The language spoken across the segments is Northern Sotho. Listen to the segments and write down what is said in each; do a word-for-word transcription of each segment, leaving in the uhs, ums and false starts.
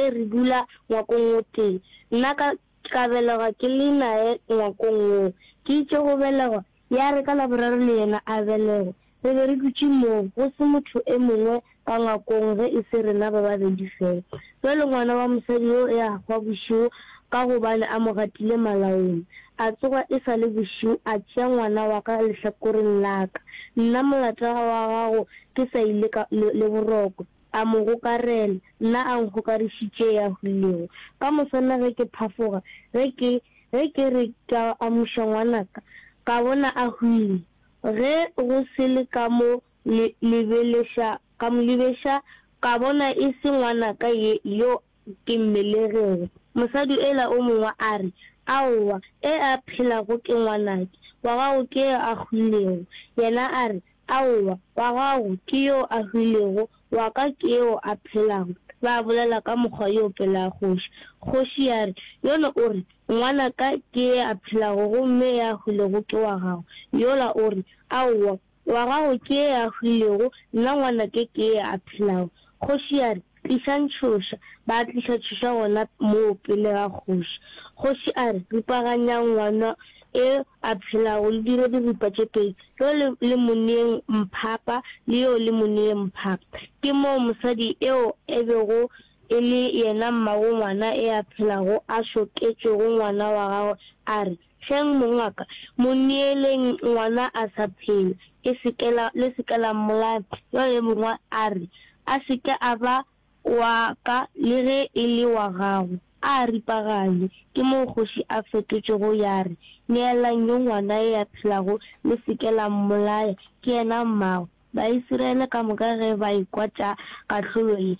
e re dula ngwakong o tee. Nna ka, ka belegwa ke le naye ngwakong woo. Ke itše go belegwa, ya re ka Laboraro le yena a belegwe. Re be re dutše moo, go se motho e mongwe ka ngwakong ge e se rena ba babedi fela. Bjale ngwana wa mosadi yo e a hwa bošego ka gobane a mo gatile malaong. A tsoga e sa le bošego, a tšea ngwana wa ka lehlakoreng la ka, nna molata wa gago ke sa ile ka, le, le boroko. A mo gokarela, nna a nkgokarišitše e a hwilego. Ka moswana ge ke phafoga, ge ke, ge ke re ke a amuša ngwanaka, ka bona a hwile. Ge go se le ka mo le, lebeleša, ka mo lebeša, ka bona e se ngwanaka ye, yo ke mmelegego. Mosadi ela o mongwe a re, Aowa, e a phelago ke ngwanake, wa gago ke yo a hwilego. Yena a re, Aowa, wa gago ke yo a hwilego, wa ka ke yo a phelago. Ba bolela ka mokgwa yo pele ga kgoši. Kgoši ya re, Yono o re, Ngwanaka ke e a phelago gomme e a hwilego ke wa gago. Yola o re, Aowa, wa gago ke e a hwilego, nna ngwanake ke e a phelago. Kgoši ya re, Tlišang tšhoša. Ba tliša tšhoša gona moo pele ga kgoši. Kgoši a re, Ripaganyang ngwana e a phelago, le dire diripa tše pedi, yo le, le mo neeng mphapa, le yo le mo neeng mphapa. Ke moo mosadi eo e bego e le yena mmago ngwana e a phelago a šoketšego ngwana wa gagwe, a re, Hleng mongaka, mo neeleng ngwana a sa phela, e se ke la, le se ke la mmolaya. Yo le mongwe a re, A se ke a ba wa ka le ge e le wa gago, a a ripaganywe. Ke moo kgoši a fetotšego ya re, Neelang yo ngwana e a phelago, le se ke la mmolaya, ke yena mmagwe. Baisiraele ka moka ge ba ekwa tša kahlolo ye,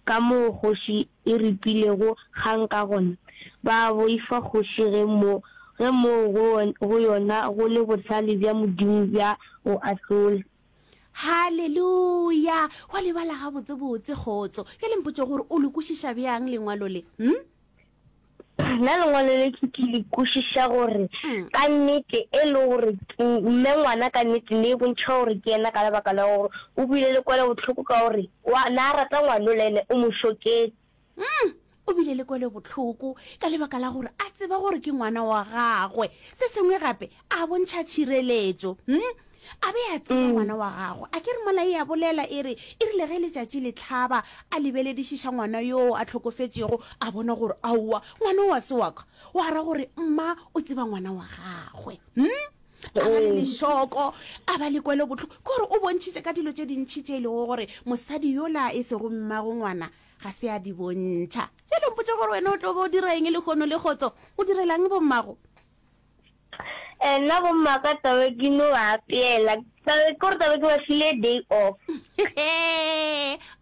ka moo kgoši e ripilego kgang ka gona, ba boifa kgoši ge mo, ge moo go, go yona go le bohlale bja Modimo bja go ahlola. Haleluya! Wa le bala gabotsebotse, kgotso. Bjale mpotše gore o le kwešiša bjang lengwalo le? Hm? Nna lengwalo le ke ke le kwešiša gore mm. ka nnete e le gore mme ngwana ka nnete ne e bontšha gore ke yena ka lebaka la gore o bile le kwele bohloko ka gore wa na rata ngwano le ene o mo šoketse. Mm. O bile le kwelobohloko ka lebaka la gore a tseba gore ke ngwana wa gagwe. Se sengwe gape, a bontšha tšhireletšo. Hm? A be a tseba ngwana wa gagwe. A ke re mola e a bolela e re, e rile ge letšatši le hlaba, a lebeledišiša ngwana yoo a hlokofetšego, a bona gore aowa, ngwana o a se wa ka. Wa ra gore mma o tseba ngwana wa gagwe. Hm? A ba le lešoko, a ba le kwelobohloko. Ke gore o bontšhitše ka dilo tše dintši tše e lego gore mosadi yola e sego mmago ngwana ga se a di bontšha. Bjale mpotše gore wena o tlo ba o dira eng lehono le kgotso? O direlang bommago? Eh, nna bommaka tabe ke no ba apeela. Tabe ke gore tabe ke ba file day off.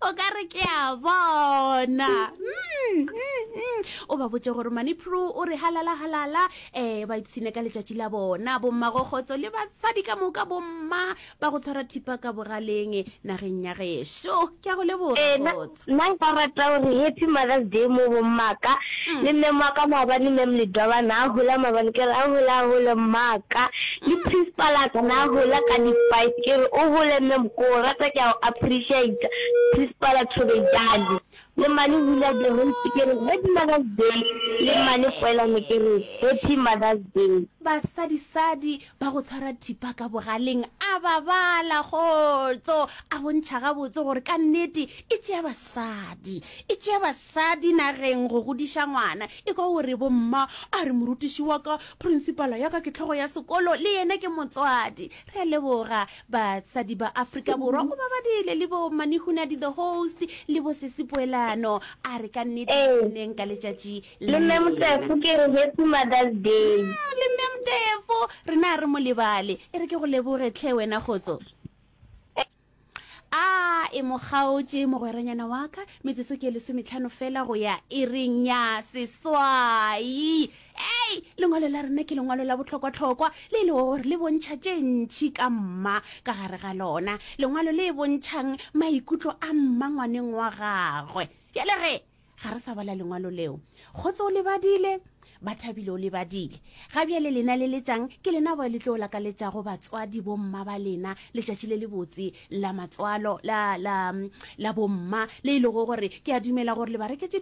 O ka re ke a bona. Mm, mm, mm. O ba botše gore Mani Pro o re halala halala, eh ba ipshine ka letšatši la bona, bommago kgotso le basadi ka moka bomma ba go tshwara thipa ka bogaleng nageng ya gešo. Ke a go leboga, Ee, nna kgotso. nna nka rata gore Happy Mother's Day mo bommaka le mem wa ka maabane mem Ledwaba na a hola maabane ke re a hole a hole mmaka le principal a ka na a hola ka di five ke re o hole mem ko o rata ke a o appreciate principal Thobejane le mane Hula the host ke re Happy Mother's Day le mane Poelane ke re Happy Mother's Day. Basadisadi ba go tshwara thipa ka bogaleng a ba bala kgotso, a bontšha gabotse gore ka nnete e tšea basadi, e tšea basadi nageng go godiša ngwana. Ekwa o re bomma, a re morutiši wa ka, principala ya ka ke hlogo ya sekolo, le yena ke motswadi. Re a leboga basadi ba Afrika Borwa, o ba badile le bo Manihunadi the host le bo Sesi Poelano, a re ka nnete Ee. ipshineng ka letšatši Le mme Motefo ke re Happy Mother's Day. Mm, le mme Motefo, rena a re mo lebale. E re ke go leboge tlhe wena kgotso. A e mo kgaotše mogweranyana wa ka, metsotso ke lesometlhano fela go ya iring ya seswai. Ei, lengwalo la rena ke lengwalo la bohlokwahlokwa le e lego gore le bontšha tše ntši ka mma ka gare ga lona. Lengwalo le bontšhang maikutlo a mma ngwaneng wa gagwe. Bjale ge, Ga re sa bala lengwalo leo. Kgotso o le badile, Bathabile o le badile. Ga bjale lena le letšang, ke lena bao le tlo lakaletšago batswadi bomma ba lena letšatši le lebotse la matswalo la, la, la bomma, le e lego gore ke a dumela gore le ba reketše